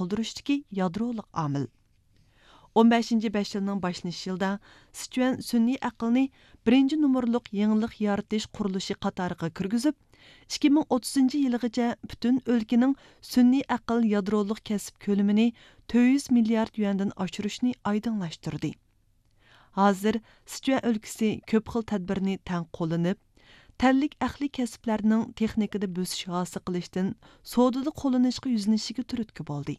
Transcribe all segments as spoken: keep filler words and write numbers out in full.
قىلدۇرۇشتىكى يادرولۇق ئامىل. ئون بەشىنچى بەش يىلنىڭ باشلىنىش يىلىدا سىچۈەن سۈنئىي ئەقىلنى بىرىنچى نومۇرلۇق يېڭىلىق يارىتىش قۇرۇلۇشى قاتارىغا كىرگۈزۈپ، ئىككى مىڭ ئوتتۇزىنچى يىلىغىچە پۈتۈن ئۆلكىنىڭ سۈنئىي ئەقىل يادرولۇق كەسىپ كۆلىمىنى تۆت يۈز مىليارد يۈەندىن ئاشۇرۇشنى ئايدىڭلاشتۇردى. ھازىر سىچۈەن ئۆلكىسى كۆپ خىل تەدبىرنى تەڭ قوللىنىپ، تەنلىك ئەقلىي كەسىپلەرنىڭ تېخنىكىدا بۆسۈش ھاسىل قىلىشتىن سودىدا قوللىنىشقا يۈزلىنىشىگە تۈرتكە بولدى.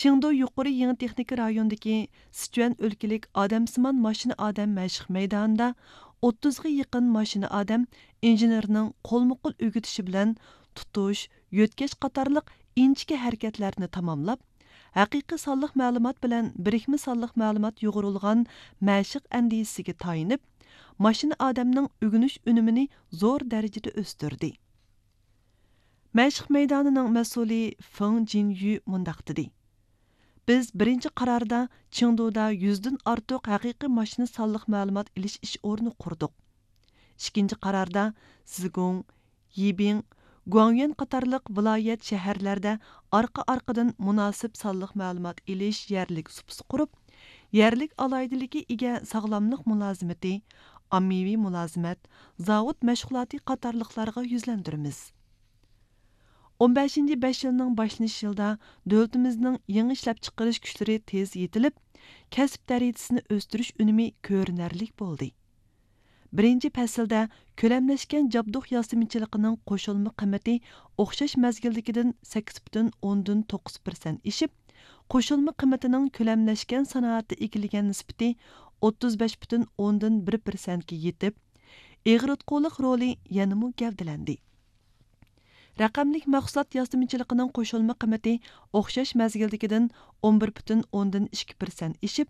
چېڭدۇ يۇقىرى يېڭى تېخنىكا رايونىدىكى سىچۈەن ئۆلكىلىك ئادەمسىمان ماشىنا ئادەم مەشىق مەيدانىدا ئوتتۇزغا يېقىن ماشىنا ئادەم ئىنژېنېرنىڭ قولمۇقول ئۆگىتىشى بىلەن تۇتۇش، يۆتكەش قاتارلىق ئىنچىكە ھەرىكەتلەرنى تاماملاپ، ھەقىقىي سانلىق مەلۇمات بىلەن بىرىكمە سانلىق مەلۇمات يۇغۇرۇلغان مەشىق ئەندىزىسىگە تايىنىپ، ماشىنا ئادەمنىڭ ئۆگىنىش ئۈنۈمىنى زور دەرىجىدە ئۆستۈردى. مەشىق مەيدانىنىڭ مەسئۇلى فېڭ جىنيۈ مۇنداق دېدى: بىز بىرىنچى قاراردا چېڭدۇدا يۈزدىن ئارتۇق ھەقىقىي ماشىنا سانلىق مەلۇمات ئېلىش ئىش ئورنى قۇردۇق. ئىككىنچى قاراردا زىگۇڭ، يىبىڭ، گۇاڭيۈەن قاتارلىق ۋىلايەت، شەھەرلەردە ئارقا-ئارقىدىن مۇناسىپ سانلىق مەلۇمات ئېلىش يەرلىك سۇپىسى قۇرۇپ، يەرلىك ئالاھىدىلىككە ئىگە ساغلاملىق مۇلازىمىتى، ئاممىۋى مۇلازىمەت، زاۋۇت مەشغۇلاتى قاتارلىقلارغا يۈزلەندۈرىمىز. ئون بەشىنچى بەش يىلنىڭ باشلىنىش يىلىدا دۆلىتىمىزنىڭ يېڭى ئىشلەپچىقىرىش كۈچلىرى تېز يېتىلىپ، كەسىپ دەرىجىسىنى ئۆستۈرۈش ئۈنۈمى كۆرۈنەرلىك بولدى. بىرىنچى پەسىلدە كۆلەملەشكەن جابدۇق ياسىمىچىلىقىنىڭ قوشۇلما قىممىتى ئوخشاش مەزگىلدىكىدىن سەككىز پۈتۈن ئوندىن توققۇز پىرسەنت ئېشىپ، قوشۇلما قىممىتىنىڭ كۆلەملەشكەن سانائەتتە ئىگىلىگەن نىسبىتى ئوتتۇز بەش پۈتۈن ئوندىن بىر پىرسەنتكە يېتىپ، ئېغىرتقۇلۇق رولى يەنىمۇ گەۋدىلەندى. رەقەملىك مەھسۇلات ياسىمىچىلىقىنىڭ قوشۇلما قىممىتى ئوخشاش مەزگىلدىكىدىن ئون بىر پۈتۈن ئوندىن ئىككى پىرسەنت ئېشىپ،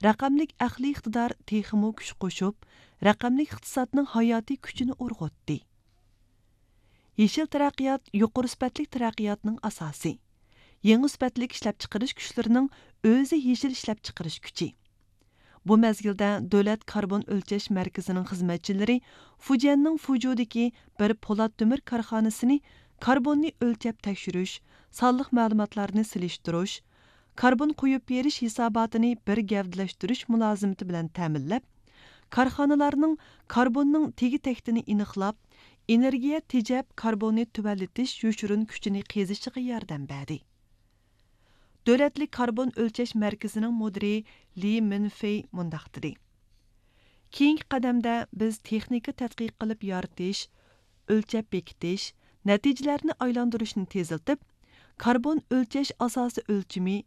رەقەملىك ئەقلىي ئىقتىدار تېخىمۇ كۈچ قوشۇپ، رەقەملىك ئىقتىسادنىڭ ھاياتىي كۈچىنى ئۇرغۇتتى. يېشىل تەرەققىيات يۇقىرى سۈپەتلىك تەرەققىياتنىڭ ئاساسى. يېڭى سۈپەتلىك ئىشلەپچىقىرىش كۈچلىرىنىڭ ئۆزى يېشىل ئىشلەپچىقىرىش كۈچى. بۇ مەزگىلدە دۆلەت كاربون ئۆلچەش مەركىزىنىڭ خىزمەتچىلىرى فۇجيەننىڭ فۇجۇدىكى بىر پولات تۆمۈر كارخانىسىنى كاربوننى ئۆلچەپ تەكشۈرۈش، سانلىق مەلۇماتلارنى سېلىشتۇرۇش، كاربون قويۇپ بېرىش ھېساباتىنى بىر گەۋدىلەشتۈرۈش مۇلازىمىتى بىلەن تەمىنلەپ، كارخانىلارنىڭ كاربوننىڭ تېگى تەكتىنى ئېنىقلاپ، ئېنېرگىيە تېجەپ كاربوننى تۆۋەنلىتىش يوشۇرۇن كۈچىنى قېزىشىغا ياردەم بەردى. دۆلەتلىك كاربون ئۆلچەش مەركىزىنىڭ مۇدىرى لى مىنفېي مۇنداق دېدى: كېيىنكى قەدەمدە بىز تېخنىكا تەتقىق قىلىپ يارىتىش، ئۆلچەپ بېكىتىش، نەتىجىلەرنى ئايلاندۇرۇشنى تېزلىتىپ، كاربون ئۆلچەش ئاساسىي ئۆلچىمى،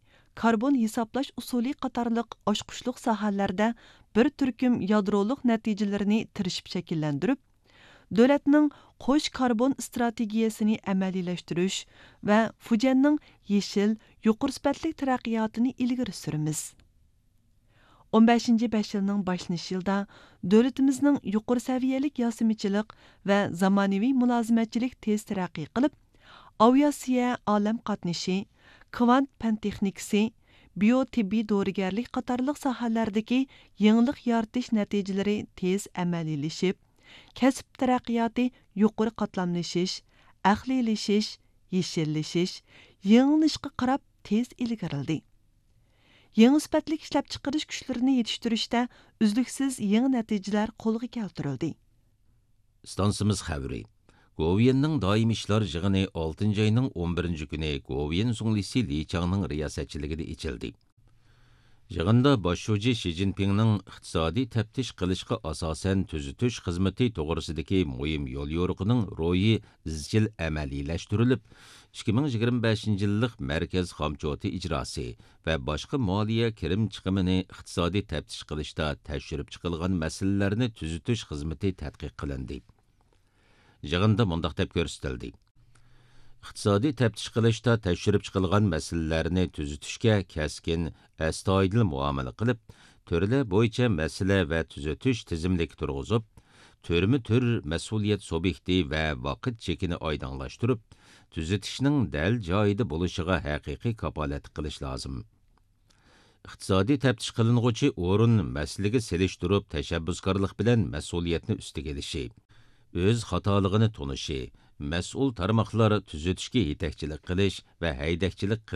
كاربون ھېسابلاش ئۇسۇلى قاتارلىق ئاچقۇچلۇق ساھەلەردە بىر تۈركۈم يادرولۇق نەتىجىلىرىنى تىرىشىپ شەكىللەندۈرۈپ، دۆلەتنىڭ قوش كاربون ئىستراتېگىيەسىنى ئەمەلىيلەشتۈرۈش ۋە فۇجيەننىڭ يېشىل، يۇقىرى سۈپەتلىك تەرەققىياتىنى ئىلگىرى سۈرىمىز. ئون بەشىنچى بەش يىلنىڭ باشلىنىش يىلىدا دۆلىتىمىزنىڭ يۇقىرى سەۋىيەلىك ياسىمىچىلىق ۋە زامانىۋى مۇلازىمەتچىلىك تېز تەرەققىي قىلىپ، ئاۋىئاتسىيە، ئالەم قاتنىشى، كۋانت پەن تېخنىكىسى، بىيو تېببىي دورىگەرلىك قاتارلىق ساھەلەردىكى يېڭىلىق يارىتىش نەتىجىلىرى تېز ئەمەلىيلىشىپ، كەسىپ تەرەققىياتى يۇقىرى قاتلاملىشىش، ئەقلىيلىشىش، يېشىللىشىش، يېڭىلىنىشقا قاراپ تېز ئىلگىرىلىدى. يېڭى سۈپەتلىك ئىشلەپچىقىرىش كۈچلىرىنى يېتىشتۈرۈشتە ئۈزلۈكسىز يېڭى نەتىجىلەر قولغا كەلتۈرۈلدى. ئىستانسىمىز خەۋىرى. گوۋۇيۈەننىڭ دائىمىي ئىشلار يىغىنى ئالتىنچى ئاينىڭ ئون بىرىنچى كۈنى گوۋۇيۈەن زۇڭلىسى لى چاڭنىڭ رىياسەتچىلىكىدە ئېچىلدى. يىغىندا باش شۇجى شى جىنپىڭنىڭ ئىقتىسادىي تەپتىش قىلىشقا ئاساسەن تۈزىتىش خىزمىتى توغرىسىدىكى مۇھىم يوليورۇقىنىڭ روھى ئىزچىل ئەمەلىيلەشتۈرۈلۈپ، ئىككى مىڭ يىگىرمە بەشىنچى يىللىق مەركەز خامچوتى ئىجراسى ۋە باشقا مالىيە كىرىم چىقىمىنى ئىقتىسادىي تەپتىش قىلىشتا تەكشۈرۈپ چىقىلغان مەسىلىلەرنى تۈزىتىش خىزمىتى تەتقىق قىلىندى. يىغىندا مۇنداق دەپ كۆرسىتىلدى: ئىقتىسادىي تەپتىش قىلىشتا تەكشۈرۈپ چىقىلغان مەسىلىلەرنى تۈزىتىشكە كەسكىن، ئەستايىدىل مۇئامىلە قىلىپ، تۈرلەر بويىچە مەسىلە ۋە تۈزىتىش تىزىملىكى تۇرغۇزۇپ، تۈرمە تۈر مەسئۇلىيەت سۇبيېكتى ۋە ۋاقىت چېكىنى ئايدىڭلاشتۇرۇپ، تۈزىتىشنىڭ دەل جايىدا بولۇشىغا ھەقىقىي كاپالەتلىك قىلىش لازىم. ئىقتىسادىي تەپتىش قىلىنغۇچى ئورۇن مەسىلىگە سېلىشتۇرۇپ تەشەببۇسكارلىق بىلەن مەسئۇلىيەتنى ئۈستىگە ئېلىشى، ئۆز خاتالىقىنى تونۇشى، مەسئۇل تارماقلار تۈزىتىشكە يېتەكچىلىك قىلىش ۋە ھەيدەكچىلىك قىلىش